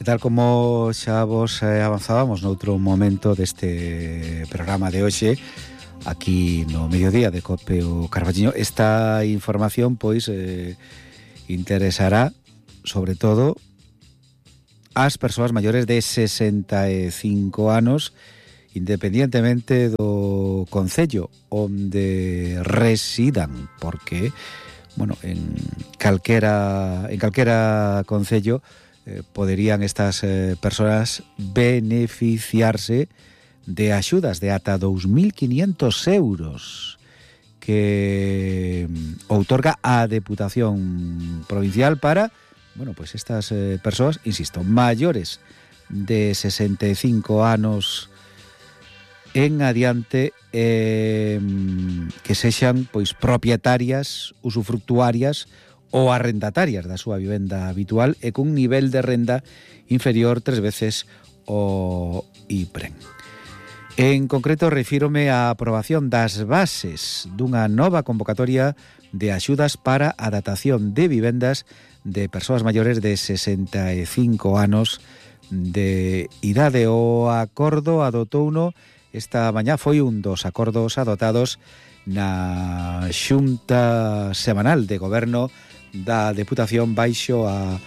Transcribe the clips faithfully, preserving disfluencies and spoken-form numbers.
tal como xa vos eh, avanzábamos noutro momento deste programa de hoxe, aquí no mediodía de Cope o Carballiño, esta información pois eh, interesará sobre todo ás persoas maiores de sesenta e cinco anos, independientemente do concello onde residan, porque bueno, en calquera en calquera concello eh, poderían estas eh, persoas beneficiarse de axudas de ata dous mil quinientos euros que outorga a Deputación Provincial para, bueno, pues estas eh, persoas, insisto, maiores de sesenta e cinco anos en adiante, eh, que sexan pois propietarias, usufructuarias ou arrendatarias da súa vivenda habitual e cun nivel de renda inferior tres veces o I P R E N. En concreto, refírome á aprobación das bases dunha nova convocatoria de axudas para a datación de vivendas de persoas maiores de sesenta e cinco anos de idade. O acordo adotouno esta mañá, foi un dos acordos adotados na Xunta Semanal de Goberno da Deputación baixo a,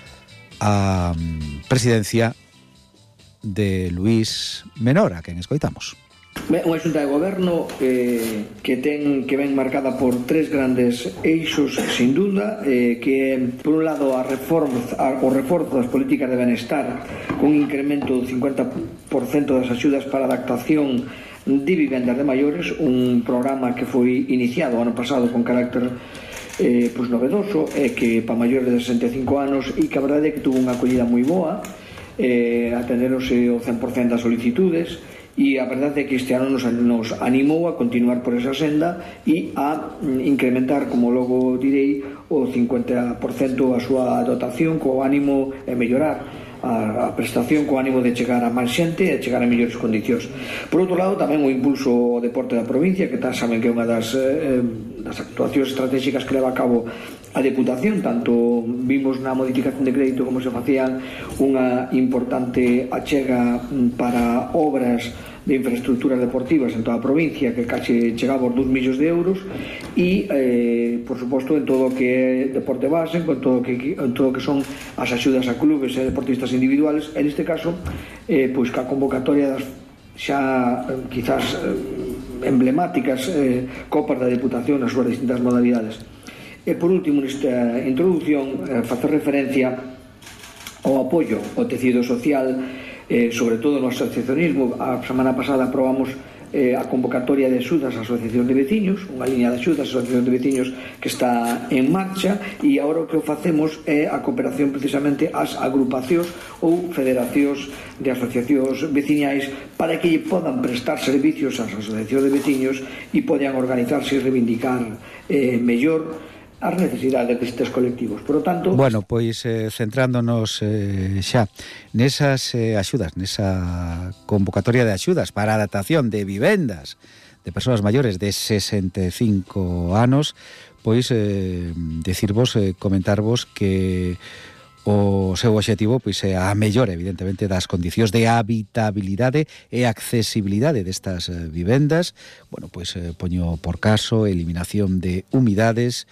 a presidencia de Luís Menor, a quen escoitamos. Ben, unha xunta de goberno eh, que ten que ven marcada por tres grandes eixos, sin duda, eh, que por un lado a reforzo, a, o reforzo das políticas de benestar, un incremento do cincuenta por cento das axudas para a adaptación de vivendas de maiores, un programa que foi iniciado ano pasado con carácter eh, pues novedoso, e eh, que para maiores de sesenta e cinco anos, e que a verdade é que tuvo unha acollida moi boa, eh, atenderonse o cen por cento das solicitudes, e a verdade é que este ano nos, nos animou a continuar por esa senda e a incrementar, como logo direi, o cincuenta por cento a súa dotación, co ánimo de mellorar a, a prestación, co ánimo de chegar a máis xente e chegar a mellores condicións. Por outro lado, tamén o impulso ao deporte da provincia, que tal saben que é unha das, eh, das actuacións estratégicas que leva a cabo a Deputación. Tanto vimos na modificación de crédito como se facían unha importante achega para obras de infraestructuras deportivas en toda a provincia, que case chegaba aos dous millóns de euros, e eh, por suposto en todo o que é deporte base, con todo o que, en todo o que son as axudas a clubes e deportistas individuales, en este caso eh, pois que a convocatoria das xa eh, quizás eh, emblemáticas eh, copas da Deputación nas súas distintas modalidades. E por último, nesta introducción, eh, facer referencia ao apoio ao tecido social, eh, sobre todo no asociacionismo. A semana pasada aprobamos eh, a convocatoria de axudas á Asociación de Veciños, unha liña de axudas á Asociación de Veciños que está en marcha, e agora o que facemos é a cooperación precisamente ás agrupacións ou federacións de asociacións veciñais para que lle podan prestar servicios ás asociacións de veciños e podan organizarse e reivindicar eh, mellor as necesidades destes colectivos. Por lo tanto... Bueno, pois eh, centrándonos eh, xa nesas eh, axudas, nesa convocatoria de axudas para a adaptación de vivendas de persoas maiores de sesenta e cinco anos, pois eh, decirvos, eh, comentarvos que o seu obxectivo pois é a mellora, evidentemente, das condicións de habitabilidade e accesibilidade destas eh, vivendas. Bueno, pois eh, poño por caso eliminación de humidades,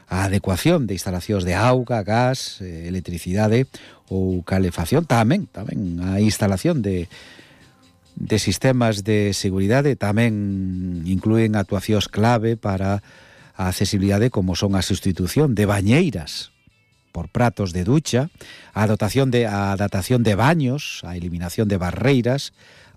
a adecuación de instalacións de auga, gas, eh, electricidade ou calefacción, tamén tamén a instalación de de sistemas de seguridade, tamén inclúen actuacións clave para a accesibilidade, como son a sustitución de bañeiras por pratos de ducha, a dotación de a adaptación de baños, a eliminación de barreiras,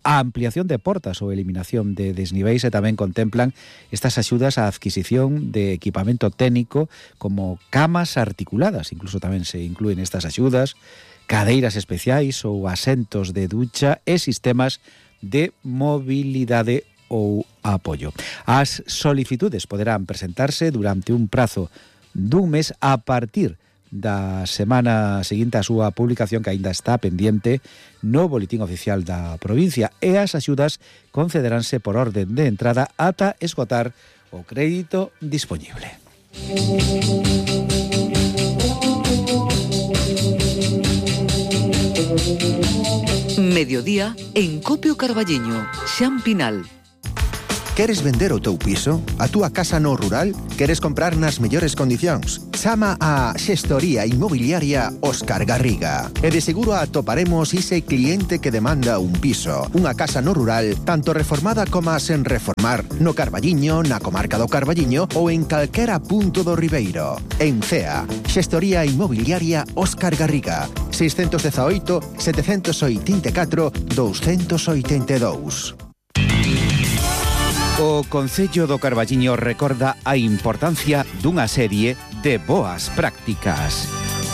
a ampliación de portas ou eliminación de desniveis, e tamén contemplan estas axudas á adquisición de equipamento técnico como camas articuladas, incluso tamén se inclúen estas axudas, cadeiras especiais ou asentos de ducha e sistemas de mobilidade ou apoio. As solicitudes poderán presentarse durante un prazo dun mes a partir da semana seguinte a súa publicación, que aínda está pendiente no Boletín Oficial da provincia, e as axudas concederánse por orden de entrada ata esgotar o crédito dispoñible. Música Mediodía en Copio Carballiño, Xan Pinal. Queres vender o teu piso? A túa casa no rural? Queres comprar nas mellores condicións? Chama a Xestoría Inmobiliaria Óscar Garriga. E de seguro atoparemos ese cliente que demanda un piso, unha casa no rural, tanto reformada como sen reformar, no Carballiño, na comarca do Carballiño ou en calquera punto do Ribeiro. En Cea, Xestoría Inmobiliaria Óscar Garriga. seiscentos dezaoito, setecentos oitenta e catro, douscentos oitenta e dous. O Concello do Carballiño recorda a importancia dunha serie de boas prácticas.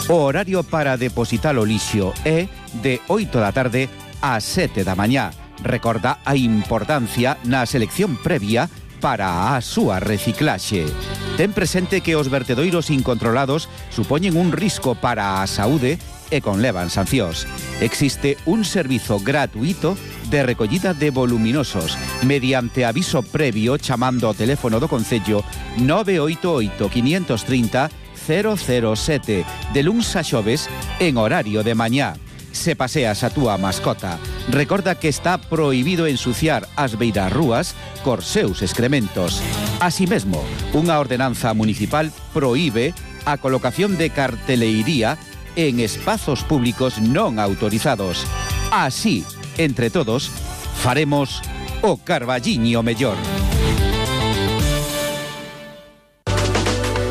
O horario para depositar o lixo é de oito da tarde a sete da mañá. Recorda a importancia na selección previa para a súa reciclaxe. Ten presente que os vertedoiros incontrolados supoñen un risco para a saúde e conlevan sancións. Existe un servizo gratuito de recollida de voluminosos mediante aviso previo chamando ao teléfono do Concello nove oito oito, cinco tres cero, cero cero sete de luns a xoves en horario de mañá. Se paseas a túa mascota, recorda que está prohibido ensuciar as beirarrúas cos seus excrementos. Así mesmo, unha ordenanza municipal prohíbe a colocación de carteleiría en espazos públicos non autorizados. Así, entre todos, faremos o Carballiño mellor.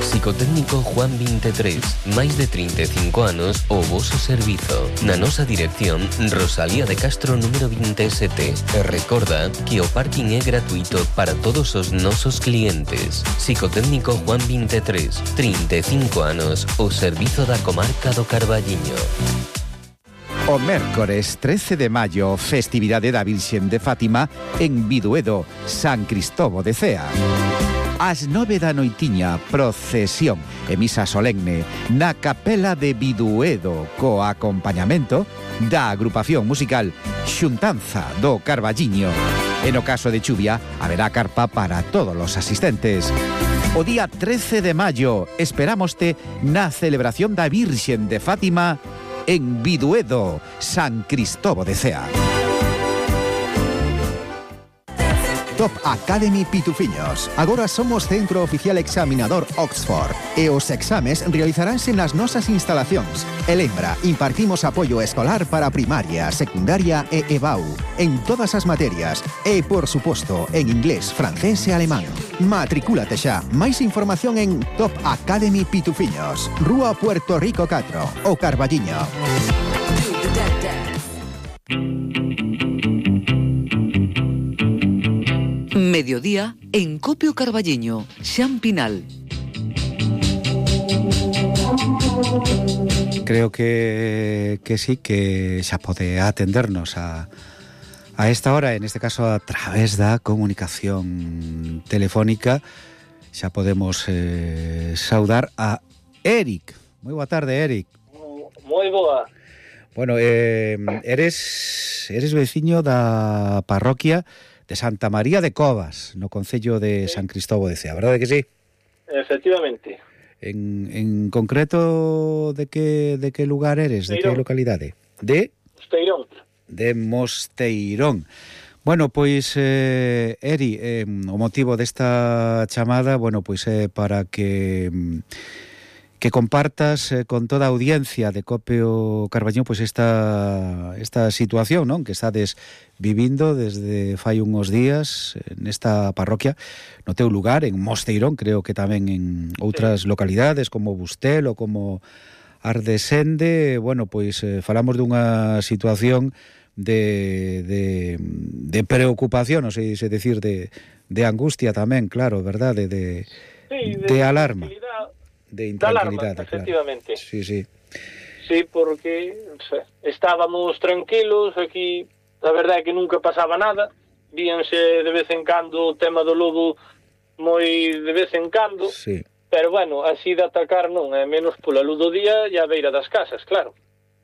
Psicotécnico Juan veintitrés, máis de trinta e cinco anos o voso servizo. Na nosa dirección, Rosalía de Castro número veintisiete. E recorda que o parking é gratuito para todos os nosos clientes. Psicotécnico Juan veintitrés, trinta e cinco anos o servizo da comarca do Carballiño. O mércores trece de maio, festividade da Virxen de Fátima en Biduedo, San Cristobo de Cea. Ás nove da noitiña, procesión e misa solemne na capela de Biduedo co acompañamento da agrupación musical Xuntanza do Carballiño. E no caso de chuvia, haberá carpa para todos os asistentes. O día trece de maio, esperámoste na celebración da Virxen de Fátima en Biduedo, San Cristobo de Cea. Top Academy Pitufiños. Agora somos centro oficial examinador Oxford e os exames realizaránse nas nosas instalacións. E lembra, impartimos apoio escolar para primaria, secundaria e E B A U en todas as materias e, por suposto, en inglés, francés e alemán. Matricúlate xa. Máis información en Top Academy Pitufiños, Rúa Puerto Rico catro, o Carballiño. Mediodía en Copio Carballiño, Xan Pinal. Creo que, que sí, que xa pode atendernos a, a esta hora, en este caso a través da comunicación telefónica. Xa podemos eh, saudar a Eric. Moi boa tarde, Eric. Moi boa. Bueno, eh, eres, eres veciño da parroquia de Santa María de Covas, no concello de sí. San Cristobo de Cea, verdade que sí? Efectivamente. En, en concreto, de que, de que lugar eres? Mosteirón. De que localidade? De? Mosteirón. De Mosteirón. Bueno, pois, eh, Eri, eh, o motivo desta chamada, bueno, pois é eh, para que... que compartas eh, con toda a audiencia de Copio Carballiño pois esta esta situación, non, que estades vivindo desde fai uns días nesta parroquia, no teu lugar, en Mosteirón, creo que tamén en outras localidades como Bustelo, como Ardesende. Bueno, pois eh, falamos dunha situación de, de, de preocupación, non sei se decir, de, de angustia tamén, claro, verdade, de, sí, de, de alarma. De intranquilidade, claro. Efectivamente. Sí, sí. Sí, porque estábamos tranquilos aquí, a verdade é que nunca pasaba nada, víanse de vez en cando o tema do lobo moi de vez en cando, sí. Pero bueno, así de atacar non, é menos pola luz do día e a beira das casas, claro.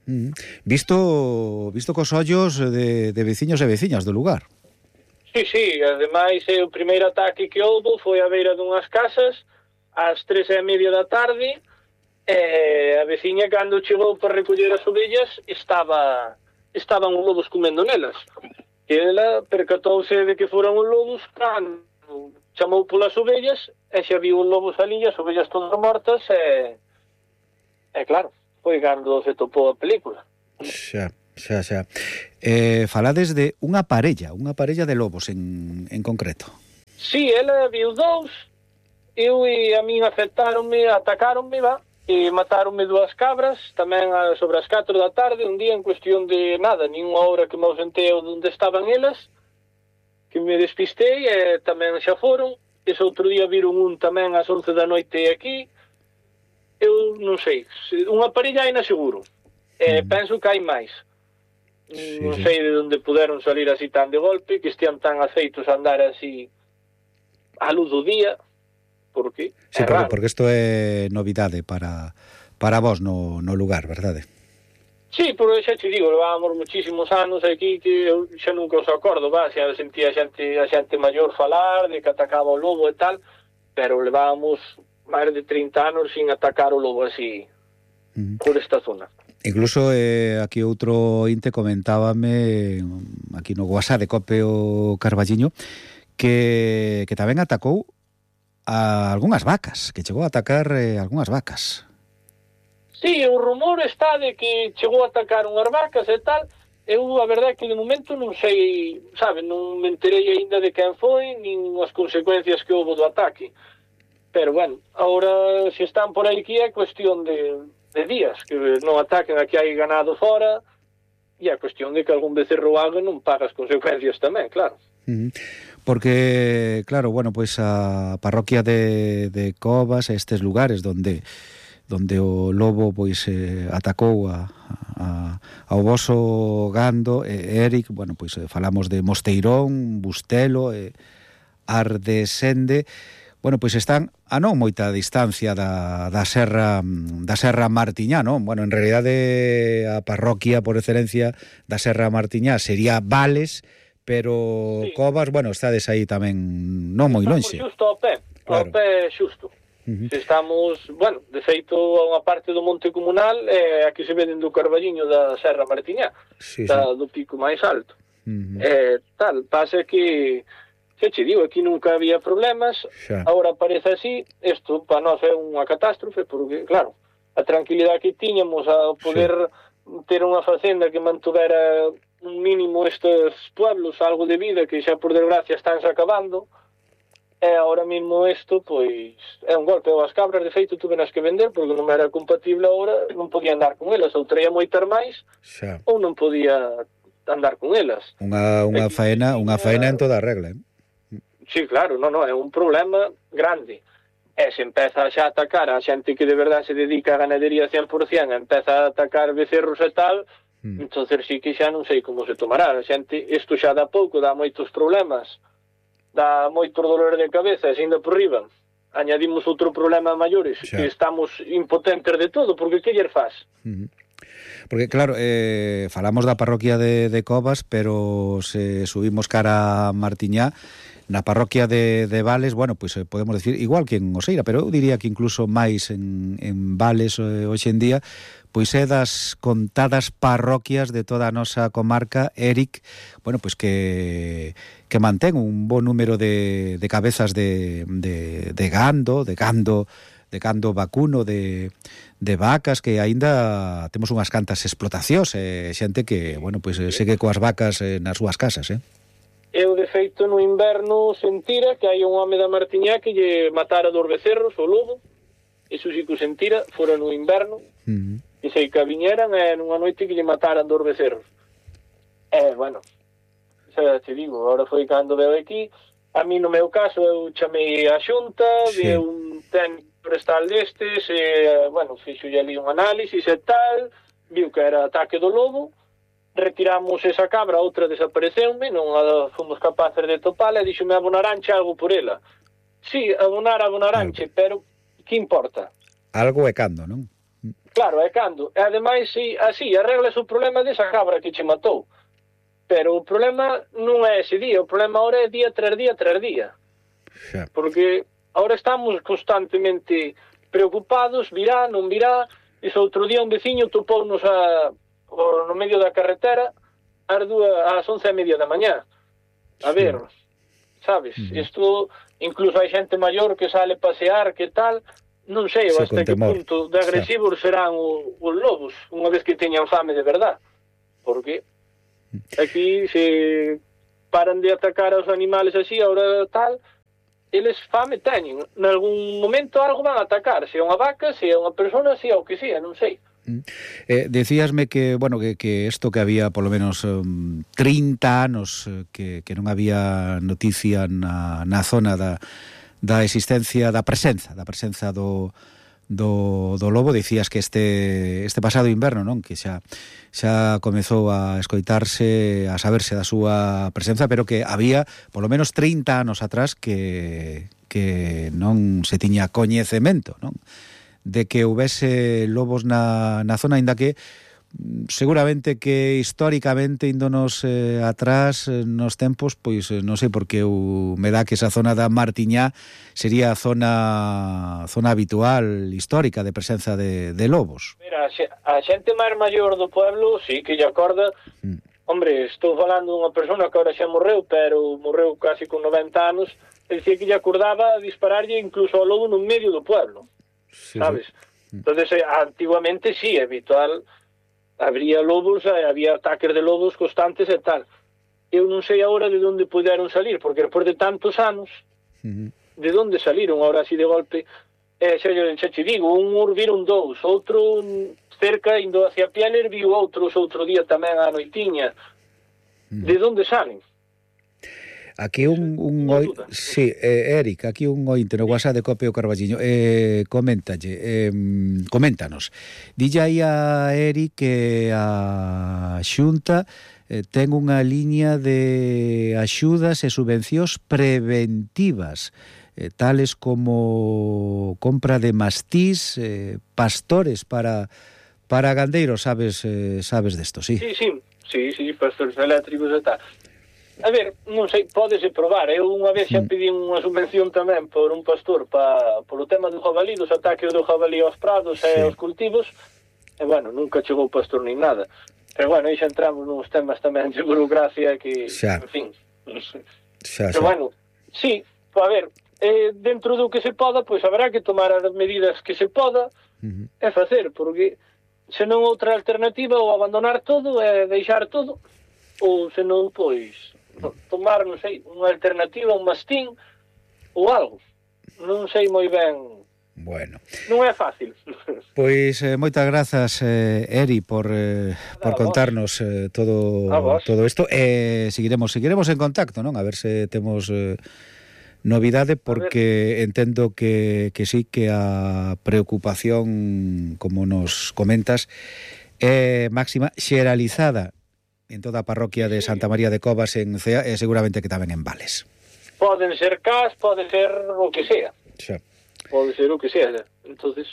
Mm. Visto visto cos ollos de, de veciños e veciñas do lugar. Sí, sí, ademais o primeiro ataque que houbo foi a beira dunhas casas, ás tres e media da tarde, e a veciña, cando chegou para recoller as ovellas, estaba estaban os lobos comendo nelas. E ela percatouse de que foran os lobos, cando chamou polas ovellas, e xa viu os lobos ali, as ovellas todas mortas, e, e claro, foi cando se topou a película. Xa, xa, xa. Eh, falades de unha parella, unha parella de lobos en, en concreto. Sí, ela viu dous, eu e a min afectaronme, atacáronme, va, e mataronme dúas cabras, tamén sobre as catro da tarde, un día en cuestión de nada, nin unha hora que me ausentei onde estaban elas, que me despistei, e tamén xa foron. Ese outro día viron un tamén ás once da noite aquí. Eu non sei, unha parella hai na seguro, e mm. penso que hai máis. Sí, non sei de onde puderon salir así tan de golpe, que estean tan aceitos a andar así a luz do día. Porque sí, porque, porque isto é novidade para para vos no, no lugar, verdade? Sí, porque xa te digo, levábamos muchísimos anos aquí que eu xa nunca os acordo, va, xa sentía a xente, a xente maior falar de que atacaba o lobo e tal, pero levábamos máis de trinta anos sin atacar o lobo así uh-huh. por esta zona. Incluso eh, aquí outro inte comentábame aquí no WhatsApp de Cope o Carballiño que, que tamén atacou a algunhas vacas, que chegou a atacar eh, algunhas vacas. Sí, o rumor está de que chegou a atacar unhas vacas e tal. Eu, a verdade, que de momento non sei, sabe, non me enterei aínda de quen foi, nin as consecuencias que houve do ataque. Pero, bueno, agora, se están por aí que é cuestión de, de días, que non ataquen a que hai ganado fora, e é cuestión de que algún becerro haga non paga as consecuencias tamén, claro. Uh-huh. Porque, claro, bueno, pois pues a parroquia de, de Covas, estes lugares donde donde o lobo pois eh, atacou a, a, ao voso gando, eh, Eric, bueno, pois eh, falamos de Mosteirón, Bustelo, eh, Ardesende, bueno, pois están a non moita distancia da, da serra da serra Martiñá, non? Bueno, en realidade a parroquia por excelencia da serra Martiñá sería Vales, pero sí. Covas, bueno, estades aí tamén non moi lonxe. Estamos xusto ao pé, claro. Ao pé xusto. Uh-huh. Estamos, bueno, de feito a unha parte do monte comunal é eh, a que se veden do Carballiño da Serra Martiñá, sí, da, sí. do pico máis alto. Uh-huh. Eh, tal, pasa que, xa che digo, aquí nunca había problemas, xa. Agora parece así, isto para nós é unha catástrofe, porque, claro, a tranquilidade que tiñamos a poder xa. ter unha facenda que mantuvera un mínimo estes pueblos, algo de vida que xa por desgracia estánse acabando, e ahora mismo isto, pois, é un golpe. As cabras, de feito, tuve nas que vender, porque non era compatible ahora, non podía andar con elas, ou traía moitas máis, xa. Ou non podía andar con elas. Unha, unha faena, unha faena en toda a regla, eh? Sí, claro, non, non, é un problema grande. E se empeza xa a atacar a xente que de verdade se dedica a ganadería cien por cien, empeza a atacar becerros e tal, mm. entonces sí que xa non sei como se tomará. A xente, isto xa dá pouco, dá moitos problemas, dá moitos dolores de cabeza, e ainda por riba añadimos outro problema maiores, xa. Que estamos impotentes de todo, porque que ller faz? Uh-huh. Porque claro, eh, falamos da parroquia de, de Covas, pero se subimos cara a Martiñá, na parroquia de, de Vales, bueno, pois pues, podemos decir, igual que en Oseira, pero eu diría que incluso máis en, en Vales eh, hoxe en día, pois é das contadas parroquias de toda a nosa comarca, Eric, bueno, pois que que mantén un bo número de, de cabezas de, de, de gando, de gando, de gando vacuno, de, de vacas, que aínda temos unhas cantas explotacións, eh, xente que, bueno, pois segue coas vacas eh, nas súas casas, eh? Eu, de feito, no inverno sentira que hai un home da Martiñá que lle matara dos becerros, o lobo, iso sí que o sentira, fora no inverno, uh-huh. e sei que viñeran e nunha noite que lle mataran dos becerros. E, bueno, xa te digo, agora foi cando veo aquí, a mí no meu caso eu chamei a xunta, sí. vi un técnico forestal destes, e, bueno, fixo ali un análisis e tal, viu que era ataque do lobo, retiramos esa cabra, outra desapareceume, non a fomos capaces de topala, e dixome abonaranche algo por ela. Sí, abonar, abonaranche, algo. Pero que importa? Algo é cando, non? Claro, é cando. E ademais, si, así, arreglas o problema desa cabra que che matou. Pero o problema non é ese día, o problema ahora é día tras día tras día. Xa. Porque ahora estamos constantemente preocupados, virá, non virá. Ese outro día un veciño topounos a no medio da carretera ás dúas, ás once e media da mañá. A ver, sabes, isto, incluso hai xente maior que sale pasear, que tal, non sei sí, hasta que punto de agresivos sí. serán os, os lobos, unha vez que teñan fame de verdad. Porque aquí se paran de atacar aos animales así, ahora tal, eles fame teñen. En algún momento algo van a atacar, se é unha vaca, se é unha persona, se é o que sea, non sei. Eh, decíasme que, bueno, que, que esto que había polo menos um, trinta anos eh, que, que non había noticia na, na zona da, da existencia, da presenza, da presenza do, do, do lobo. Dicías que este, este pasado inverno, non? Que xa, xa comezou a escoitarse, a saberse da súa presenza, pero que había polo menos trinta anos atrás que, que non se tiña coñecemento, non? De que houvese lobos na, na zona, ainda que seguramente que históricamente índonos eh, atrás eh, nos tempos, pois eh, non sei porque eu, me dá que esa zona da Martiñá sería a zona zona habitual, histórica de presenza de, de lobos. Mira, a xente máis maior do pueblo sí que lle acorda. mm. Hombre, estou falando dunha persona que ahora xa morreu, pero morreu casi con noventa anos, e dicía que lle acordaba dispararlle incluso ao lobo no medio do pueblo. Sí, sabes? Sí. Entonces, eh, antiguamente sí, habitual, habría lobos, eh, había ataques de lobos constantes e tal. Eu non sei agora de onde puderon salir, porque despois de tantos anos, uh-huh. de onde saliron agora así de golpe, eh, xa, xa te digo, un viron dous, outro cerca, indo hacia Pieler, viu outros outro día tamén a noitiña. Uh-huh. De onde salen? Aquí un, un oi... sí, eh, Eric, aquí un ointe no WhatsApp de Cope o Carballiño eh, coméntalle eh, coméntanos, dille aí a Eric que a Xunta eh, ten unha liña de axudas e subvencións preventivas, eh, tales como compra de mastís, eh, pastores para para gandeiros, sabes eh, sabes desto, sí? Sí, sí, sí, sí, pastores eléctricos e tal. A ver, non sei, pódese probar. Eu unha vez xa pedí unha subvención tamén por un pastor pa, polo tema do jabalí, dos ataques do jabalí aos prados e sí. aos cultivos, e bueno, nunca chegou o pastor nin nada. Pero bueno, aí xa entramos nos temas tamén de burocracia que, xa. en fin. Xa, Pero xa. bueno, sí, a ver, eh, dentro do que se poda, pois haberá que tomar as medidas que se poda uh-huh. e facer, porque senón outra alternativa ou abandonar todo e deixar todo, ou senón, pois tomar, non sei, unha alternativa, un mastín ou algo. Non sei moi ben. Bueno. Non é fácil. Pois eh, moitas grazas, eh, Eri, por eh, por contarnos eh, todo todo isto. Eh, seguiremos seguiremos en contacto, non? A ver se temos eh, novidade, porque entendo que, que sí, que a preocupación, como nos comentas, é máxima, xeralizada en toda a parroquia de Santa María de Covas en Cea, e seguramente que tamén en Vales. Poden ser cas, pode ser o que sea. Xa. Pode ser o que sea. Entonces,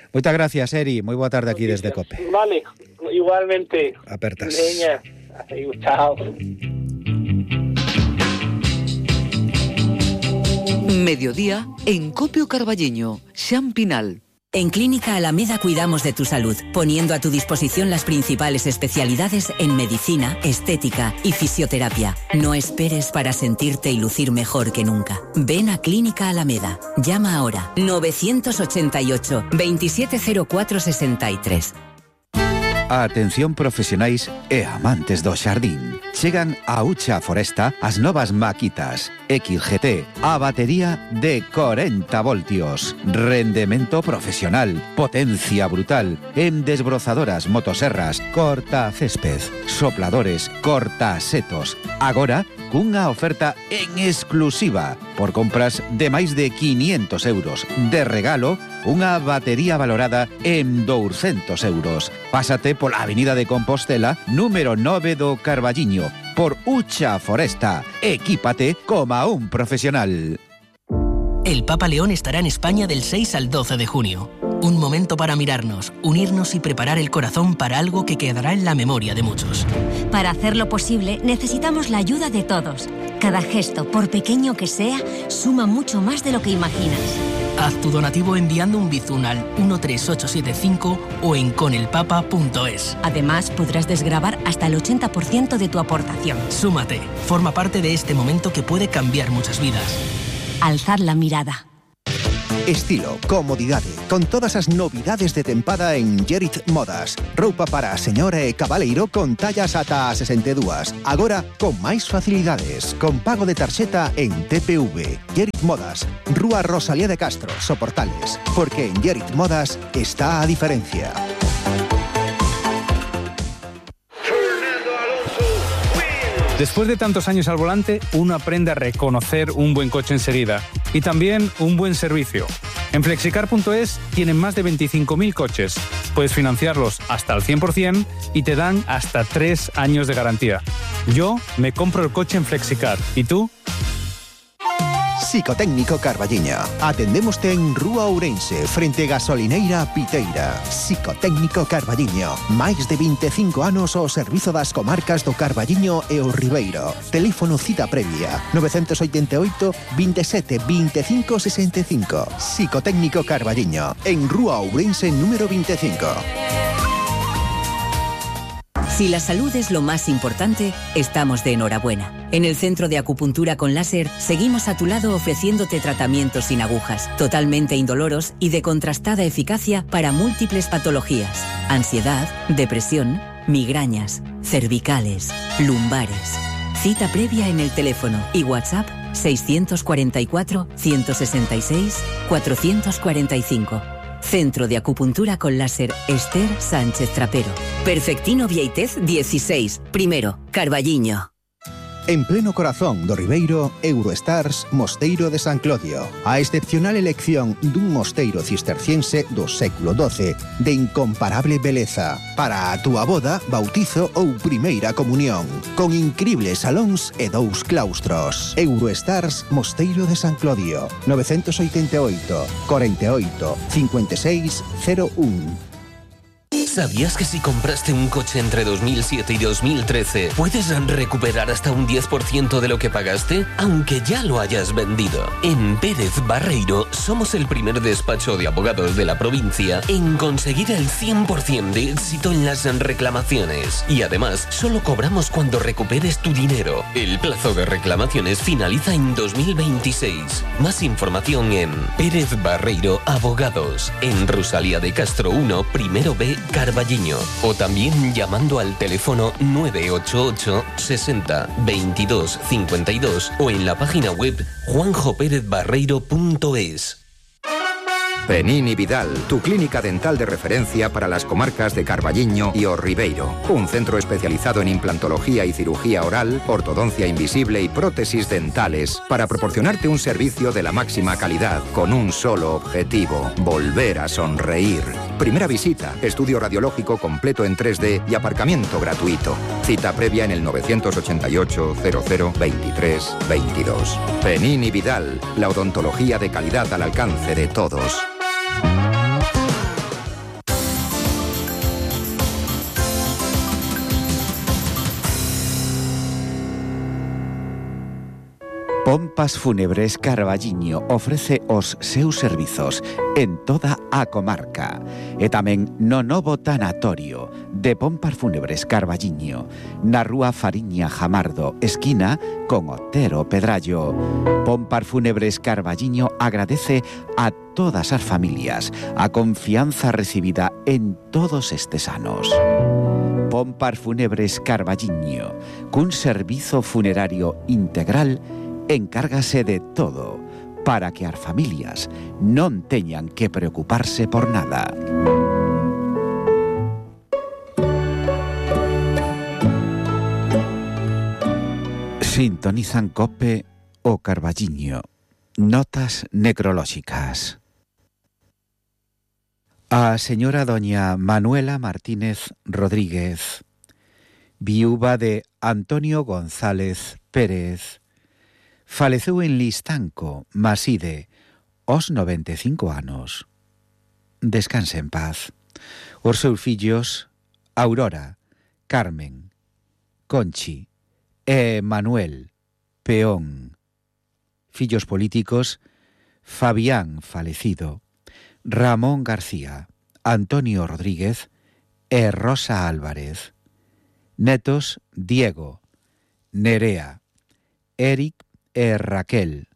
moitas gracias, Eri. Moi boa tarde aquí desde Cope. Vale, igualmente. Apertas. Veña. Chao. Mediodía en Cope o Carballiño, Xan Pinal. En Clínica Alameda cuidamos de tu salud, poniendo a tu disposición las principales especialidades en medicina, estética y fisioterapia. No esperes para sentirte y lucir mejor que nunca. Ven a Clínica Alameda. Llama ahora novecientos ochenta y ocho, veintisiete cero cuatro sesenta y tres. Atención profesionais e amantes do xardín. Chegan a Ucha Foresta as novas maquitas X G T, a batería de corenta voltios, rendemento profesional, potencia brutal, en desbrozadoras, motoserras, corta césped, sopladores, corta setos. Agora, cunha oferta en exclusiva, por compras de máis de quinientos euros. De regalo, unha batería valorada en douscentos euros. Pásate pola Avenida de Compostela, número nove do Carballiño, por Ucha Foresta. Equípate como un profesional. El Papa León estará en España del seis al doce de junio. Un momento para mirarnos, unirnos y preparar el corazón para algo que quedará en la memoria de muchos. Para hacerlo posible, necesitamos la ayuda de todos. Cada gesto, por pequeño que sea, suma mucho más de lo que imaginas. Haz tu donativo enviando un Bizum al uno tres ocho siete cinco o en conelpapa punto es. Además, podrás desgravar hasta el ochenta por ciento de tu aportación. Súmate, forma parte de este momento que puede cambiar muchas vidas. Alzad la mirada. Estilo, comodidade, con todas as novidades de tempada en Gerit Modas. Roupa para a señora e cabaleiro con tallas ata a sesenta e dúas. Agora, con máis facilidades, con pago de tarxeta en T P V. Gerit Modas, Rúa Rosalía de Castro, Soportales. Porque en Gerit Modas está a diferencia. Después de tantos años al volante, uno aprende a reconocer un buen coche enseguida y también un buen servicio. En flexicar punto es tienen más de veinticinco mil coches. Puedes financiarlos hasta el cien por ciento y te dan hasta tres años de garantía. Yo me compro el coche en Flexicar. ¿Y tú? Psicotécnico Carballiño. Atendémoste en Rúa Ourense, frente Gasolineira Piteira. Psicotécnico Carballiño. Máis de veinticinco anos ao servizo das comarcas do Carballiño e o Ribeiro. Teléfono cita previa nove oito oito, veintisiete, veinticinco, sesenta y cinco. Psicotécnico Carballiño. En Rúa Ourense número veinticinco. Si la salud es lo más importante, estamos de enhorabuena. En el Centro de Acupuntura con Láser seguimos a tu lado ofreciéndote tratamientos sin agujas, totalmente indoloros y de contrastada eficacia para múltiples patologías: ansiedad, depresión, migrañas, cervicales, lumbares. Cita previa en el teléfono y WhatsApp seiscientos cuarenta y cuatro, ciento sesenta y seis, cuatrocientos cuarenta y cinco. Centro de Acupuntura con Láser Esther Sánchez Trapero. Perfectino Vieitez dieciséis, primero, Carballiño. En pleno corazón do Ribeiro, Eurostars Mosteiro de San Clodio. A excepcional elección dun mosteiro cisterciense do século doce, de incomparable beleza. Para a túa boda, bautizo ou primeira comunión. Con incribles salóns e dous claustros. Eurostars Mosteiro de San Clodio. nove oito oito, cuarenta y ocho, cincuenta y seis, cero uno. ¿Sabías que si compraste un coche entre dos mil siete y dos mil trece puedes recuperar hasta un diez por ciento de lo que pagaste, aunque ya lo hayas vendido? En Pérez Barreiro somos el primer despacho de abogados de la provincia en conseguir el cien por ciento de éxito en las reclamaciones. Y además, solo cobramos cuando recuperes tu dinero. El plazo de reclamaciones finaliza en dos mil veintiséis. Más información en Pérez Barreiro Abogados, en Rosalía de Castro uno, primero B, Carballiño, o también llamando al teléfono nueve ocho ocho, sesenta, veintidós, cincuenta y dos o en la página web juanjo pérez barreiro punto es. Penini Vidal, tu clínica dental de referencia para las comarcas de Carballiño y O Ribeiro. Un centro especializado en implantología y cirugía oral, ortodoncia invisible y prótesis dentales para proporcionarte un servicio de la máxima calidad con un solo objetivo: volver a sonreír. Primera visita, estudio radiológico completo en tres D y aparcamiento gratuito. Cita previa en el nueve ocho ocho, cero cero, veintitrés, veintidós. Penini Vidal, la odontología de calidad al alcance de todos. Pompas Fúnebres Carballiño ofrece os seus servizos en toda a comarca e tamén no novo tanatorio de Pompas Fúnebres Carballiño na rúa Fariña Jamardo, esquina con Otero Pedrallo. Pompas Fúnebres Carballiño agradece a todas as familias a confianza recibida en todos estes anos. Pompas Fúnebres Carballiño, cun servizo funerario integral, encárgase de todo para que as familias non teñan que preocuparse por nada. Sintonizan COPE o Carballiño. Notas necrolóxicas. A señora doña Manuela Martínez Rodríguez, viúva de Antonio González Pérez, faleceu en Listanco, Maside, aos noventa e cinco anos. Descanse en paz. Os seus fillos, Aurora, Carmen, Conchi e Manuel, peón. Fillos políticos, Fabián falecido, Ramón García, Antonio Rodríguez e Rosa Álvarez. Netos Diego, Nerea, Eric e Raquel,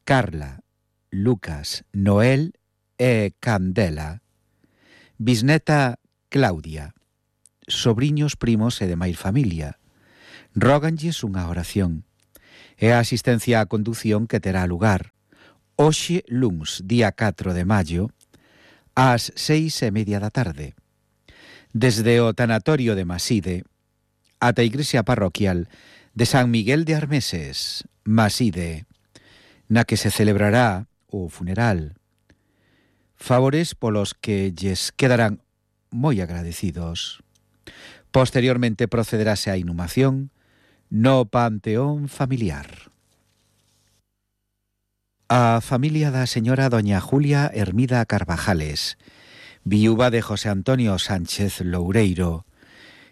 Carla, Lucas, Noel e Candela. Bisneta Claudia, sobriños, primos e demais familia. Róganlles unha oración. E a asistencia á condución que terá lugar hoxe luns, día catro de maio, ás seis e media da tarde. Desde o tanatorio de Maside ata a igrexa parroquial de San Miguel de Armeses, Maside, na que se celebrará o funeral. Favores polos que lles quedarán moi agradecidos. Posteriormente procederase á inhumación no panteón familiar. A familia da señora doña Julia Hermida Carvajales, viúva de José Antonio Sánchez Loureiro,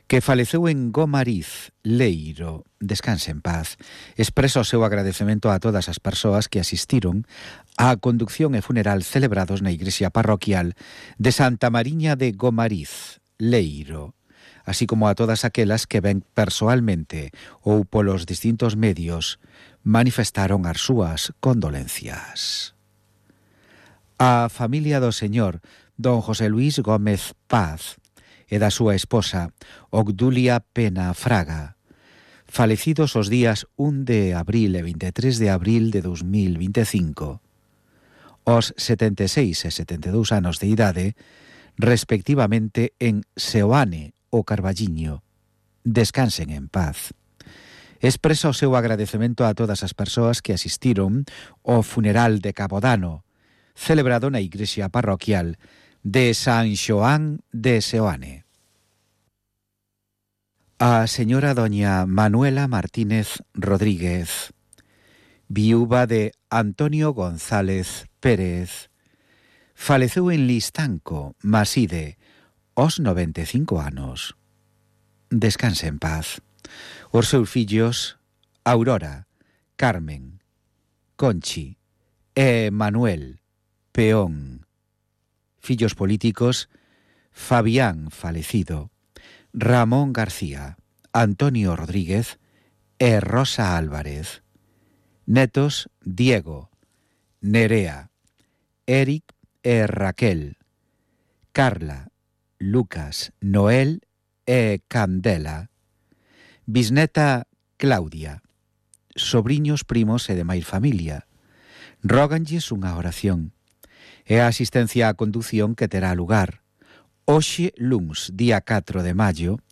que faleceu en Gomariz, Leiro, descanse en paz, expresa o seu agradecemento a todas as persoas que asistiron á conducción e funeral celebrados na igrexa parroquial de Santa Mariña de Gomariz, Leiro, así como a todas aquelas que ben persoalmente ou polos distintos medios manifestaron as súas condolencias. A familia do señor don José Luis Gómez Paz e da súa esposa Obdulia Pena Fraga, falecidos os días un de abril e veintitrés de abril de dos mil veinticinco, os setenta e seis e setenta e dous anos de idade, respectivamente en Seoane o Carballiño. Descansen en paz. Expresa o seu agradecemento a todas as persoas que asistiron ao funeral de Cabodano, celebrado na igrexa parroquial de San Xoán de Seoane. A señora doña Manuela Martínez Rodríguez, viúva de Antonio González Pérez, faleceu en Listanco, Maside, aos noventa e cinco anos. Descanse en paz. Os seus fillos Aurora, Carmen, Conchi e Manuel Peón. Fillos políticos Fabián falecido, Ramón García, Antonio Rodríguez e Rosa Álvarez. Netos Diego, Nerea, Eric e Raquel, Carla, Lucas, Noel e Candela. Bisneta Claudia, sobriños, primos e demais familia. Róganlles unha oración. E a asistencia á condución que terá lugar hoxe luns, día catro de maio,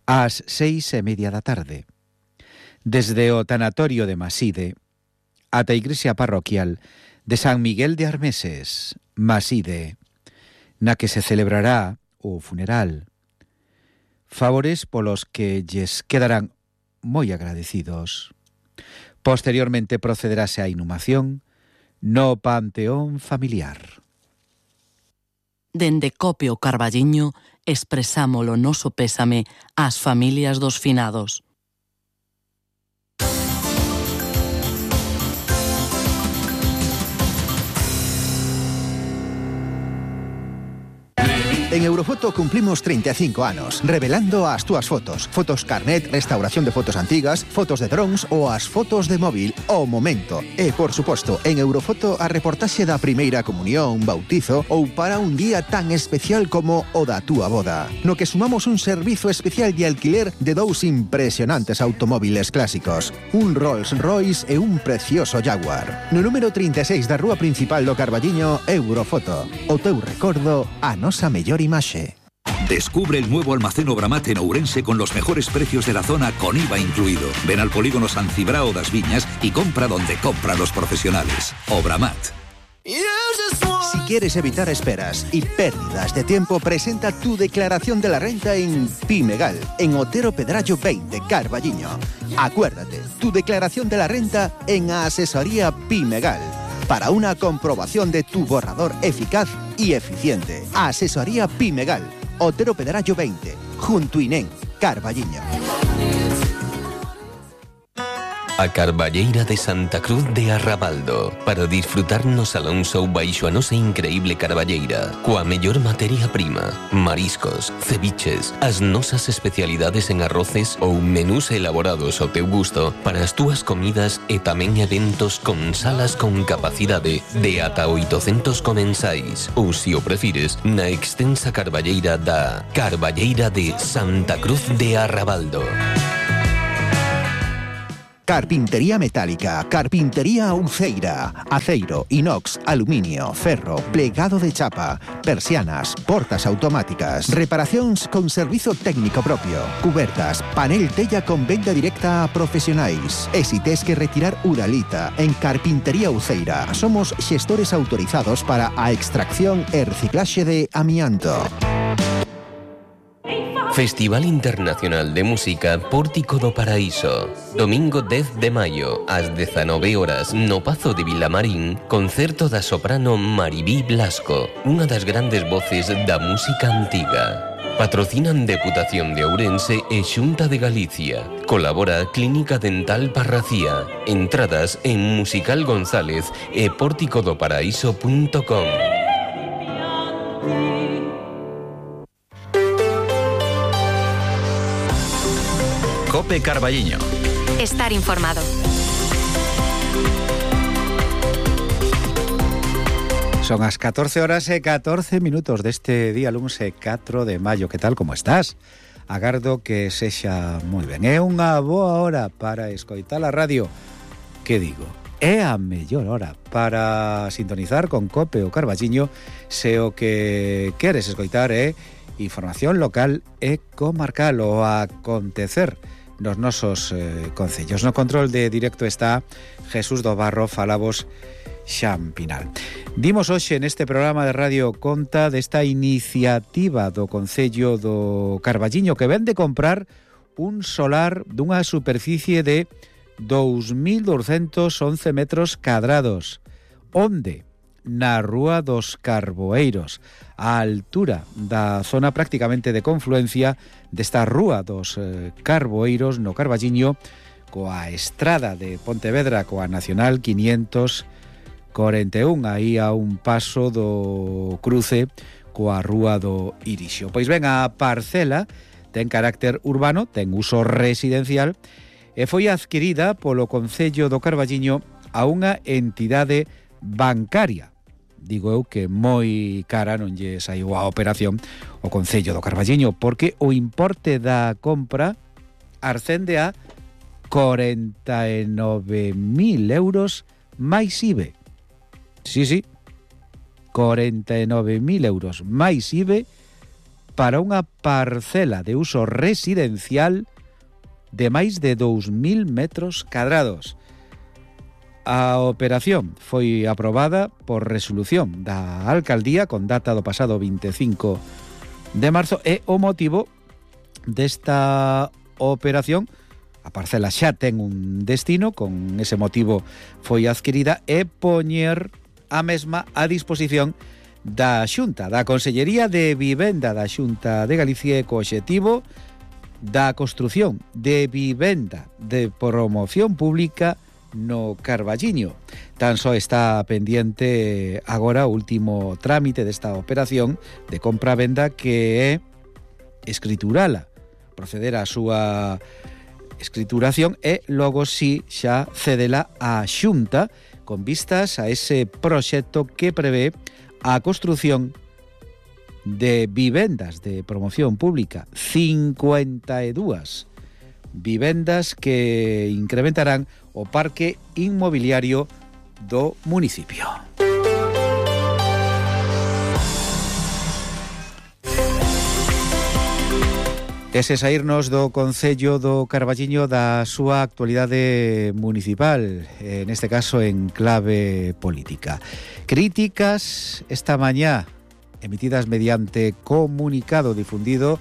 ás seis e media da tarde. Desde o tanatorio de Maside ata a igrexa parroquial de San Miguel de Armeses, Maside, na que se celebrará o funeral. Favores polos que lles quedarán moi agradecidos. Posteriormente procederase á inhumación no panteón familiar. Dende Cope o Carballiño expresamos o noso pésame ás familias dos finados. En Eurofoto cumplimos treinta e cinco anos, revelando as túas fotos. Fotos carnet, restauración de fotos antigas, fotos de drones ou as fotos de móvil ao momento. E, por suposto, en Eurofoto a reportaxe da primeira comunión, bautizo ou para un día tan especial como o da túa boda. No que sumamos un servizo especial de alquiler de dous impresionantes automóviles clásicos. Un Rolls Royce e un precioso Jaguar. No número trinta e seis da rúa principal do Carballiño, Eurofoto. O teu recordo, a nosa mellor imaxe. Descubre el nuevo almacén Obramat en Ourense con los mejores precios de la zona con I V A incluido. Ven al polígono San Cibrao das Viñas y compra donde compran los profesionales. Obramat. Si quieres evitar esperas y pérdidas de tiempo, presenta tu declaración de la renta en Pimegal, en Otero Pedrallo veinte, Carballiño. Acuérdate, tu declaración de la renta en Asesoría Pimegal, para una comprobación de tu borrador eficaz y eficiente. Asesoría Pimegal, Otero Pedrallo veinte, junto Inén, Carballiño. a Carballeira de Santa Cruz de Arrabaldo, para disfrutar no Salón Show baixo a nosa increíble Carballeira, coa mellor materia prima, mariscos, ceviches, as nosas especialidades en arroces ou menús elaborados ao teu gusto para as túas comidas e tamén eventos con salas con capacidade de ata oitocentos comensais, ou, se o prefires, na extensa Carballeira da Carballeira de Santa Cruz de Arrabaldo. Carpintería metálica, carpintería Uceira, aceiro, inox, aluminio, ferro, plegado de chapa, persianas, portas automáticas, reparacións con servizo técnico propio, cubertas, panel tella con venda directa a profesionais. E si tes que retirar uralita, en Carpintería Uceira somos xestores autorizados para a extracción e reciclaxe de amianto. Festival Internacional de Música Pórtico do Paraíso. Domingo dez de maio, ás dezanove horas, no Pazo de Vilamarín, concerto da soprano Maribí Blasco, unha das grandes voces da música antiga. Patrocinan Deputación de Ourense e Xunta de Galicia. Colabora Clínica Dental Parracía. Entradas en Musical González e pórtico do paraíso punto com. Cope Carballiño. Estar informado. Son as catorce horas e catorce minutos deste día lunes catro de maio. Que tal, como estás? Agardo que sexa moi ben. É unha boa hora para escoitar a radio. Que digo? É a mellor hora para sintonizar con Cope o Carballiño se o que queres escoitar é información local e comarcal o acontecer nos nosos eh, concellos. No control de directo está Jesús do Barro, falabos Xampinal. Dimos hoxe neste programa de radio conta desta iniciativa do Concello do Carballiño que ven de comprar un solar dunha superficie de dous mil douscentos once metros cadrados. Onde? Na Rúa dos Carboeiros, á altura da zona prácticamente de confluencia desta Rúa dos eh, Carboeiros no Carballiño, coa estrada de Pontevedra, coa Nacional quinientos cuarenta e un, aí a un paso do cruce coa Rúa do Irixo. Pois ben, a parcela ten carácter urbano, ten uso residencial e foi adquirida polo Concello do Carballiño a unha entidade bancaria. Digo eu que moi cara non lle saiu a operación o Concello do Carballiño, porque o importe da compra ascende a corenta e nove mil euros máis I V E. Sí, sí, corenta e nove mil euros máis I V E para unha parcela de uso residencial de máis de dous mil metros cadrados. A operación foi aprobada por resolución da Alcaldía con data do pasado veinticinco de marzo e o motivo desta operación, a parcela xa ten un destino, con ese motivo foi adquirida, e poñer a mesma a disposición da Xunta, da Consellería de Vivenda da Xunta de Galicia, co obxectivo da construción de vivenda de promoción pública no Carballiño. Tan só está pendiente agora o último trámite desta operación de compra-venda, que é escriturala, proceder á súa escrituración e logo si xa cedela á Xunta con vistas a ese proxecto que prevé a construción de vivendas de promoción pública, cincuenta e dúas vivendas que incrementarán o parque inmobiliario do municipio. Ese saírnos do Concello do Carballiño da súa actualidade municipal, neste caso en clave política. Críticas esta mañá emitidas mediante comunicado difundido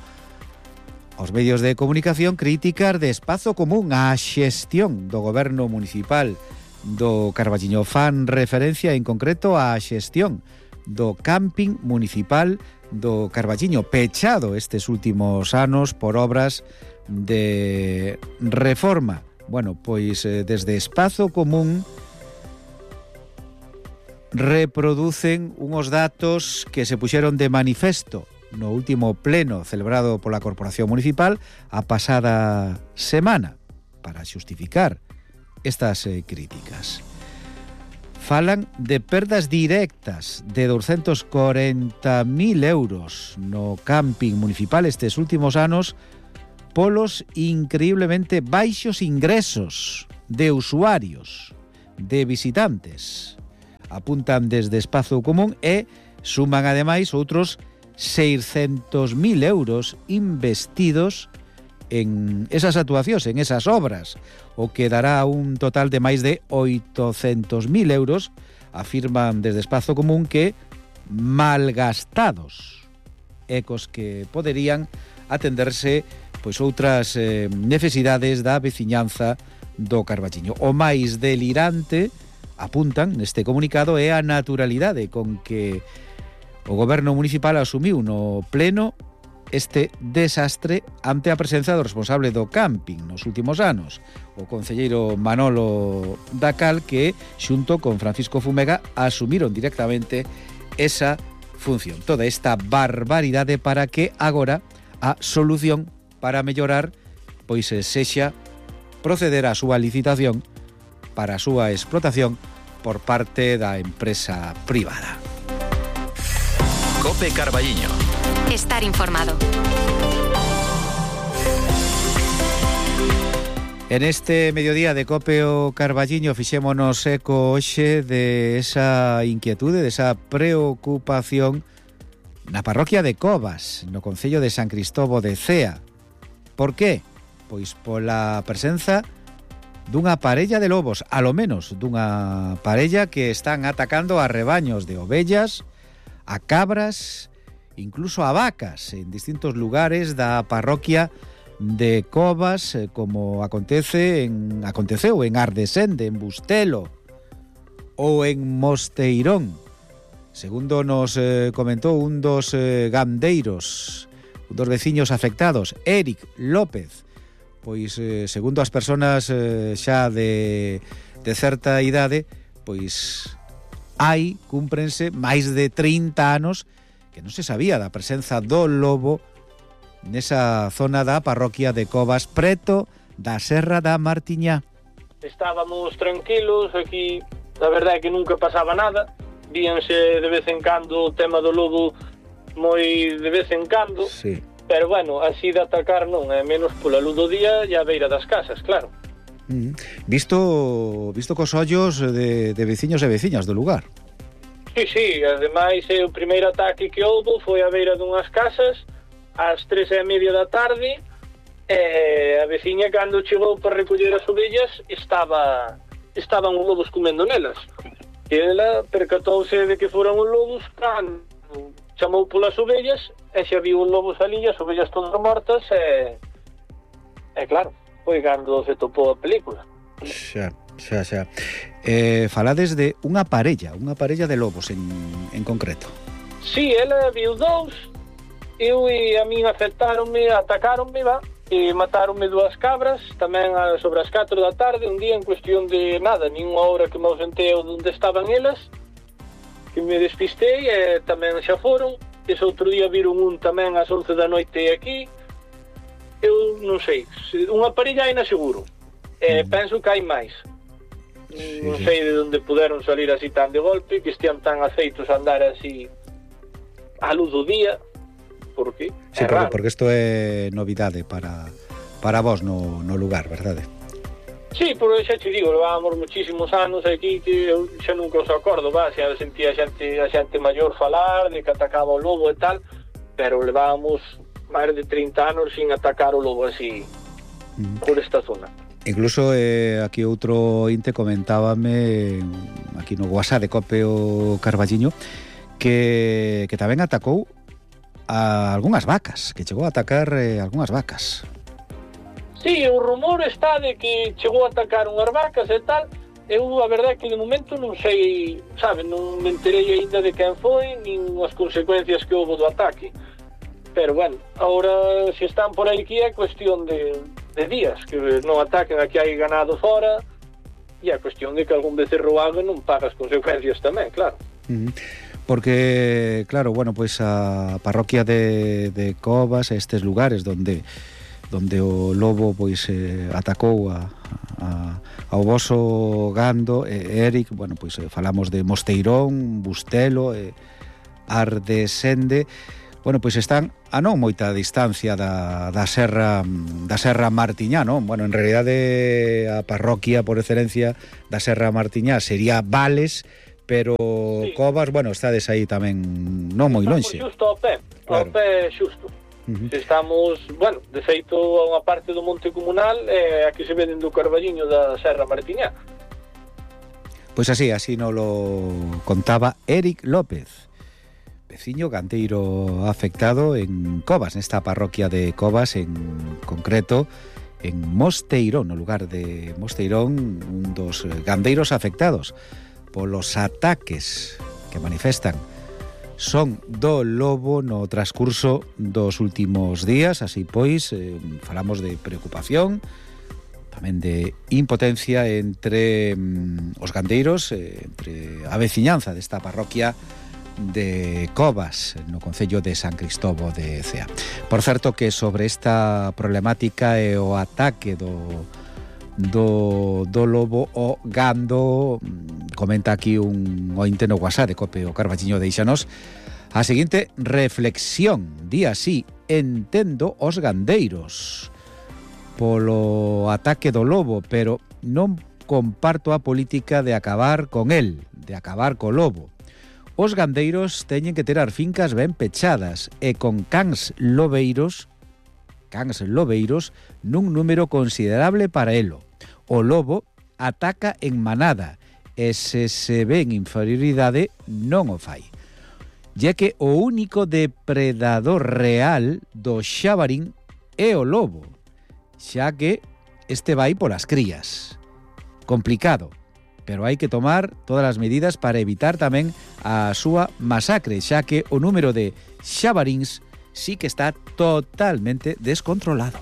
aos medios de comunicación, críticas de Espazo Común á xestión do goberno municipal do Carballiño. Fan referencia en concreto á xestión do camping municipal do Carballiño, pechado estes últimos anos por obras de reforma Bueno, pois eh, desde Espazo Común reproducen unos datos que se puxeron de manifesto no último pleno celebrado pola Corporación Municipal a pasada semana para xustificar estas eh, críticas. Falan de perdas directas de doscientos cuarenta mil euros no camping municipal estes últimos anos polos increíblemente baixos ingresos de usuarios, de visitantes. Apuntan desde Espazo Común e suman ademais outros seiscentos mil euros investidos en esas actuacións, en esas obras, o que dará un total de máis de oitocentos mil euros, afirman desde Espazo Común que malgastados, ecos que poderían atenderse pois outras eh, necesidades da veciñanza do Carballiño. O máis delirante, apuntan neste comunicado, é a naturalidade con que o goberno municipal asumiu no pleno este desastre ante a presenza do responsable do camping nos últimos anos, o concelleiro Manolo Dacal, que xunto con Francisco Fumega asumiron directamente esa función. Toda esta barbaridade para que agora a solución para mellorar pois sexa proceder á súa licitación para a súa explotación por parte da empresa privada. COPE Carballiño. Estar informado. En este mediodía de COPE o Carballiño fixémonos eco hoxe de esa inquietude, de esa preocupación na parroquia de Covas, no concello de San Cristovo de Cea. Por qué? Pois pola presenza dunha parella de lobos, alo menos dunha parella que están atacando a rebaños de ovellas, a cabras, incluso a vacas en distintos lugares da parroquia de Covas, como acontece en aconteceu en Ardesende, en Bustelo ou en Mosteirón. Segundo nos eh, comentou un dos eh, gandeiros, un dos veciños afectados, Eric López, pois eh, segundo as persoas eh, xa de, de certa idade, pois hai, cúmprense, máis de trinta anos que non se sabía da presenza do lobo nesa zona da parroquia de Covas, preto da Serra da Martiñá. Estábamos tranquilos aquí, a verdade é que nunca pasaba nada, víanse de vez en cando o tema do lobo moi de vez en cando, sí. Pero bueno, así de atacar non, é menos pola luz do día e a beira das casas, claro. Mm. Visto visto cos ollos de, de veciños e veciñas do lugar. Sí, sí, ademais o primeiro ataque que houbo foi a beira dunhas casas ás tres e media da tarde e a veciña cando chegou para recoller as ovellas estaba estaban os lobos comendo nelas. E ela percatouse de que foran os lobos cando chamou polas ovellas e xa viu os lobos ali, as ovellas todas mortas e, e claro, foi cando se topou a película. Xa, xa, xa. Eh, falades de unha parella, unha parella de lobos en, en concreto. Sí, ela viu dous, eu e a min afectaronme, atacaronme, va, e mataronme dúas cabras, tamén sobre as catro da tarde, un día en cuestión de nada, nin unha hora que me ausentei onde estaban elas, que me despistei e tamén xa foron. Ese outro día viron un tamén ás once da noite aquí. Eu non sei, unha parella hai na seguro, e mm. penso que hai máis. Sí, non sei de onde puderon salir así tan de golpe, que estean tan aceitos a andar así a luz do día. Por qué? Sí, é porque, porque isto é novidade para, para vos no, no lugar, verdade? Sí, porque xa te digo, levábamos muchísimos anos aquí que eu xa nunca os acordo, va, xa sentía a xente, a xente maior falar de que atacaba o lobo e tal, pero levábamos máis de trinta anos sin atacar o lobo así mm. por esta zona. Incluso eh, aquí outro inte comentábame aquí no WhatsApp de COPE o Carballiño que, que tamén atacou a algunhas vacas, que chegou a atacar eh, algunhas vacas. Sí, o rumor está de que chegou a atacar unhas vacas e tal. Eu, a verdade é que de momento non sei, sabe, non me enterei ainda de quen foi, nin as consecuencias que houve do ataque. Pero, bueno, agora, se están por aí que é cuestión de, de días que non ataquen, aquí hai ganado fora, e a cuestión de que algún becerro haga non paga as consecuencias tamén, claro. Uh-huh. Porque, claro, bueno, pois a parroquia de, de Covas, estes lugares donde donde o lobo pois eh, atacou a, a, ao voso gando, eh, Eric, bueno, pois eh, falamos de Mosteirón, Bustelo, eh, Ardesende, bueno, pois están a non moita distancia da, da serra da serra Martiñá, non? Bueno, en realidade a parroquia por excelencia da serra Martiñá sería Vales, pero sí. Covas, bueno, estades aí tamén non moi lonxe. Estamos xusto ao pé, ao claro. pé xusto. Uh-huh. Estamos, bueno, de feito a unha parte do monte comunal é eh, a que se veden do Carballiño da serra Martiñá. Pois así, así nos lo contaba Eric López, veciño gandeiro afectado en Covas, nesta parroquia de Covas, en concreto en Mosteirón, no lugar de Mosteirón, un dos gandeiros afectados polos ataques que manifestan son do lobo no transcurso dos últimos días. Así pois, eh, falamos de preocupación, tamén de impotencia entre mm, os gandeiros, eh, entre a veciñanza desta parroquia de Covas, no concello de San Cristobo de Cea. Por certo que sobre esta problemática e o ataque do do, do lobo o gando, comenta aquí un ointe no WhatsApp de Cope o Carballiño, deixanos a seguinte reflexión. Di así: entendo os gandeiros polo ataque do lobo, pero non comparto a política de acabar con el, de acabar co lobo. Os gandeiros teñen que ter as fincas ben pechadas e con cans lobeiros, cans lobeiros nun número considerable para elo. O lobo ataca en manada e se se ve en inferioridade non o fai. Ya que o único depredador real do xabarín é o lobo, xa que este vai polas crías. Complicado, pero hai que tomar todas as medidas para evitar tamén a súa masacre, xa que o número de xabaríns sí que está totalmente descontrolado.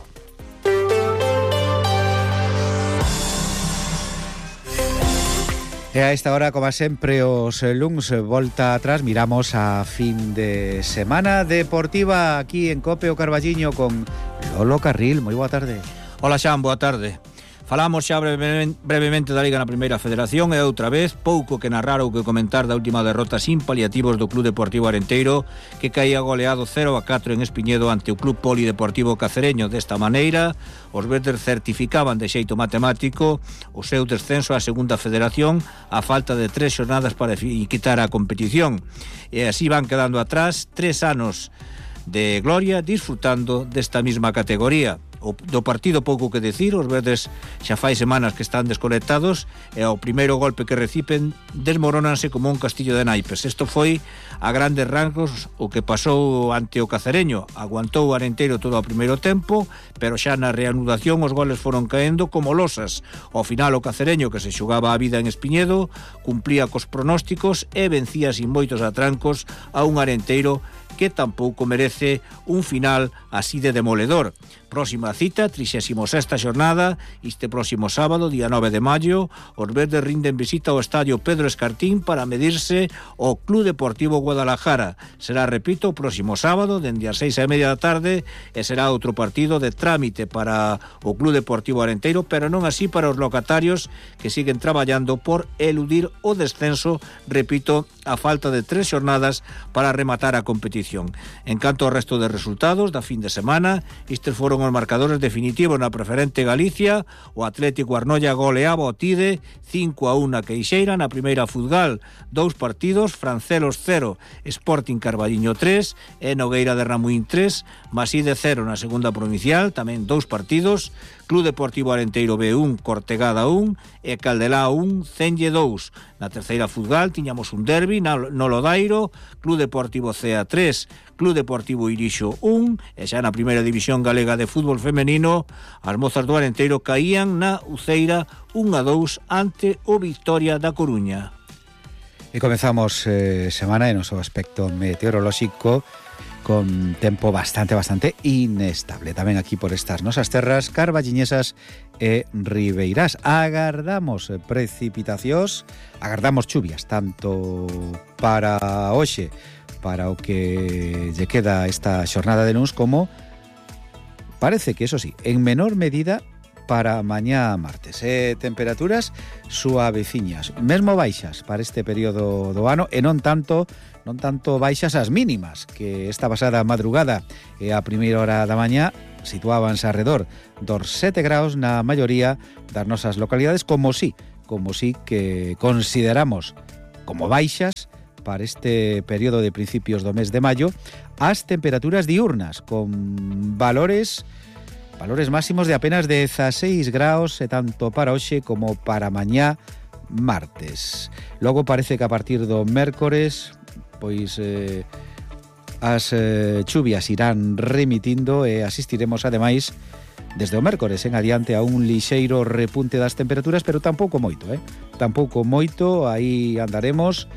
E a esta hora, como sempre, os luns volta atrás, miramos a fin de semana deportiva aquí en Cope o Carballiño con Lolo Carril. Moi boa tarde. Hola, Xan, boa tarde. Falamos xa brevemente, brevemente da Liga na Primeira Federación e outra vez pouco que narrar ou que comentar da última derrota sin paliativos do Club Deportivo Arenteiro, que caía goleado cero a catro en Espiñedo ante o Club Polideportivo Cacereño. Desta maneira, os verdes certificaban de xeito matemático o seu descenso á Segunda Federación a falta de tres xornadas para quitar a competición. E así van quedando atrás tres anos de gloria disfrutando desta mesma categoría. O do partido pouco que decir, os verdes xa fai semanas que están desconectados e ao primeiro golpe que reciben desmorónanse como un castillo de naipes. Isto foi a grandes rangos o que pasou ante o Cacereño. Aguantou o Arenteiro todo o primeiro tempo, pero xa na reanudación os goles foron caendo como losas. Ao final o Cacereño, que se xogaba a vida en Espiñedo, cumplía cos pronósticos e vencía sin moitos atrancos a un Arenteiro que tampouco merece un final así de demoledor. Próxima cita, trixésima sexta xornada, este próximo sábado, día nove de maio, os verdes rinden visita ao estadio Pedro Escartín para medirse ao Club Deportivo Guadalajara. Será, repito, o próximo sábado, dende as seis e media da tarde, e será outro partido de trámite para o Club Deportivo Arenteiro, pero non así para os locatarios que siguen traballando por eludir o descenso, repito, a falta de tres xornadas para rematar a competición. En canto ao resto de resultados da fin de semana, estes foron os marcadores definitivos na preferente Galicia. O Atlético Arnoia goleaba o Tide cinco a uno a Queixeira na primeira Futgal. Dous partidos, Francelos cero, Sporting Carballiño tres e Nogueira de Ramuín tres, Maside cero na segunda provincial, tamén dous partidos, Club Deportivo Arenteiro B un, Cortegada un e Caldelá un, Cenlle dous. Na terceira Futgal tiñamos un derbi no Lodairo, Club Deportivo Cea tres, Club Deportivo Irixo un, e xa na primeira división galega de fútbol femenino, as mozas do Arenteiro caían na Uceira un a dous ante o Victoria da Coruña. E comezamos eh, semana en o seu aspecto meteorolóxico con tempo bastante, bastante inestable. Tamén aquí por estas nosas terras carballiñesas e ribeirás. Agardamos precipitacións, agardamos chuvias, tanto para hoxe, para o que lle queda esta xornada de luns, como parece que, eso sí, en menor medida para mañá martes. E temperaturas suaveciñas, mesmo baixas para este período do ano, e non tanto non tanto baixas as mínimas, que esta pasada madrugada e a primeira hora da mañá situábanse alrededor dos sete graus na maioría das nosas localidades, como si, como si que consideramos como baixas para este período de principios do mes de maio as temperaturas diurnas, con valores valores máximos de apenas dezasseis graus, e tanto para hoxe como para mañá martes. Logo parece que a partir do mércores pois eh, as eh, chuvias irán remitindo e asistiremos ademais desde o mércores en adiante a un lixeiro repunte das temperaturas, pero tampouco moito, eh? tampouco moito, aí andaremos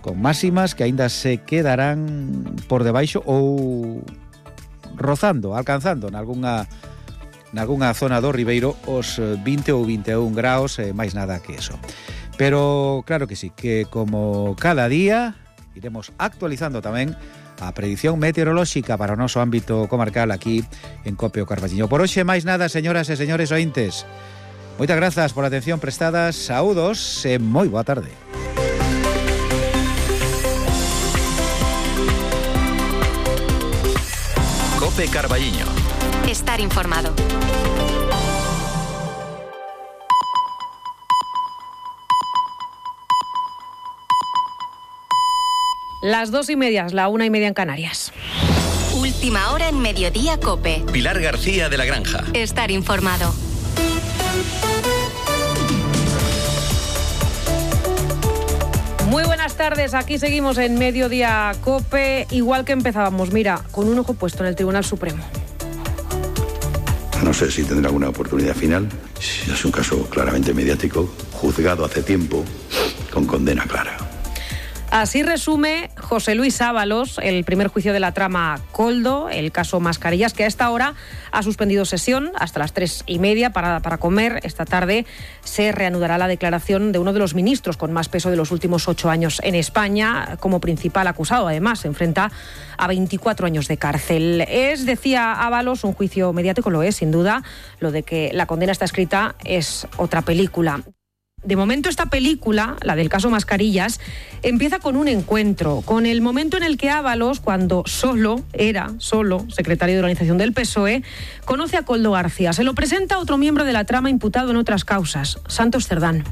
con máximas que aínda se quedarán por debaixo ou rozando, alcanzando nalgúna, nalgúna zona do Ribeiro os vinte ou vinte e un graus, e máis nada que eso. Pero claro que sí, que como cada día iremos actualizando tamén a predición meteorolóxica para o noso ámbito comarcal aquí en Cope o Carballiño. Por hoxe máis nada, señoras e señores ointes. Moitas grazas pola atención prestada, saúdos e moi boa tarde. Cope Carballiño. Estar informado. Las dos y media, la una y media en Canarias. Última hora en Mediodía Cope. Pilar García de la Granja. Estar informado. Muy buenas tardes, aquí seguimos en Mediodía Cope, igual que empezábamos, mira, con un ojo puesto en el Tribunal Supremo. No sé si tendrá alguna oportunidad final. Es un caso claramente mediático, juzgado hace tiempo, con condena clara. Así resume José Luis Ábalos el primer juicio de la trama Koldo, el caso Mascarillas, que a esta hora ha suspendido sesión hasta las tres y media para, para comer. Esta tarde se reanudará la declaración de uno de los ministros con más peso de los últimos ocho años en España, como principal acusado. Además, se enfrenta a veinticuatro años de cárcel. Es, decía Ábalos, un juicio mediático, lo es, sin duda. Lo de que la condena está escrita es otra película. De momento, esta película, la del caso Mascarillas, empieza con un encuentro, con el momento en el que Ábalos, cuando solo era, solo, secretario de organización del P S O E, conoce a Koldo García. Se lo presenta a otro miembro de la trama imputado en otras causas, Santos Cerdán.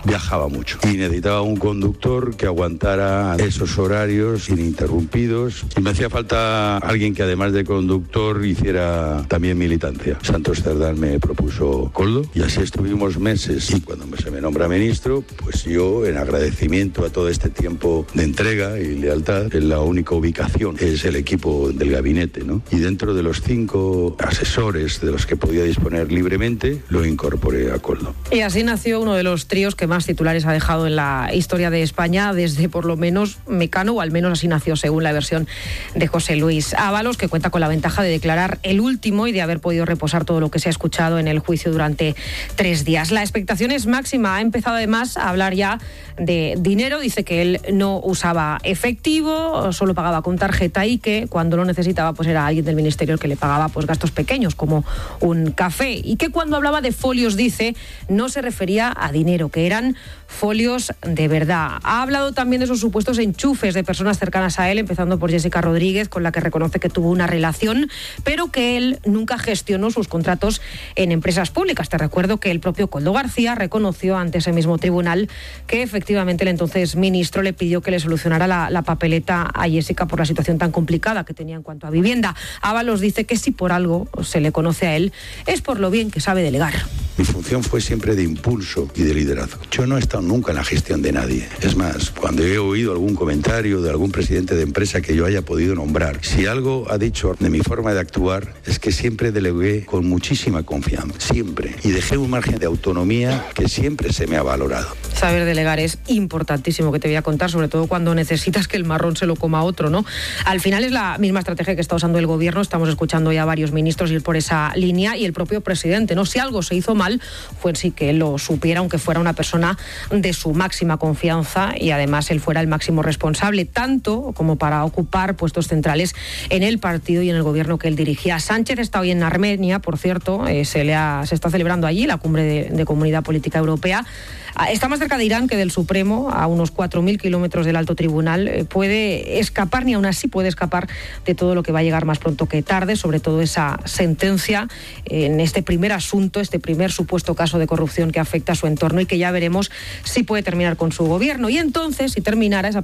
Viajaba mucho y necesitaba un conductor que aguantara esos horarios ininterrumpidos, y me hacía falta alguien que, además de conductor, hiciera también militancia. Santos Cerdán me propuso Koldo y así estuvimos meses, y cuando se me nombra ministro, pues yo, en agradecimiento a todo este tiempo de entrega y lealtad, la única ubicación es el equipo del gabinete, ¿no? Y dentro de los cinco asesores de los que podía disponer libremente, lo incorporé a Koldo. Y así nació uno de los tríos que más titulares ha dejado en la historia de España, desde por lo menos Mecano, o al menos así nació según la versión de José Luis Ábalos, que cuenta con la ventaja de declarar el último y de haber podido reposar todo lo que se ha escuchado en el juicio durante tres días. La expectación es máxima. Ha empezado además a hablar ya de dinero. Dice que él no usaba efectivo, solo pagaba con tarjeta, y que cuando lo necesitaba pues era alguien del ministerio el que le pagaba pues gastos pequeños como un café, y que cuando hablaba de folios, dice, no se refería a dinero, que eran folios de verdad. Ha hablado también de esos supuestos enchufes de personas cercanas a él, empezando por Jessica Rodríguez, con la que reconoce que tuvo una relación, pero que él nunca gestionó sus contratos en empresas públicas. Te recuerdo que el propio Koldo García reconoció ante ese mismo tribunal que efectivamente el entonces ministro le pidió que le solucionara la, la papeleta a Jessica por la situación tan complicada que tenía en cuanto a vivienda. Ábalos dice que si por algo se le conoce a él es por lo bien que sabe delegar. Mi función fue siempre de impulso y de liderazgo. Yo no he estado nunca en la gestión de nadie. Es más, cuando he oído algún comentario de algún presidente de empresa que yo haya podido nombrar, si algo ha dicho de mi forma de actuar es que siempre delegué con muchísima confianza, siempre, y dejé un margen de autonomía que siempre se me ha valorado. Saber delegar es importantísimo, que te voy a contar, sobre todo cuando necesitas que el marrón se lo coma otro, ¿no? Al final es la misma estrategia que está usando el gobierno. Estamos escuchando ya a varios ministros ir por esa línea y el propio presidente, ¿no? Si algo se hizo mal, fue sí que él lo supiera, aunque fuera una persona de su máxima confianza y además él fuera el máximo responsable, tanto como para ocupar puestos centrales en el partido y en el gobierno que él dirigía. Sánchez está hoy en Armenia, por cierto, eh, se, le ha, se está celebrando allí la cumbre de, de Comunidad Política Europea. Está más cerca de Irán que del Supremo, a unos cuatro mil kilómetros del Alto Tribunal. Eh, puede escapar, ni aún así puede escapar de todo lo que va a llegar más pronto que tarde, sobre todo esa sentencia en este primer asunto, este primer supuesto caso de corrupción que afecta a su entorno y que ya veremos si puede terminar con su gobierno. Y entonces, si terminara esa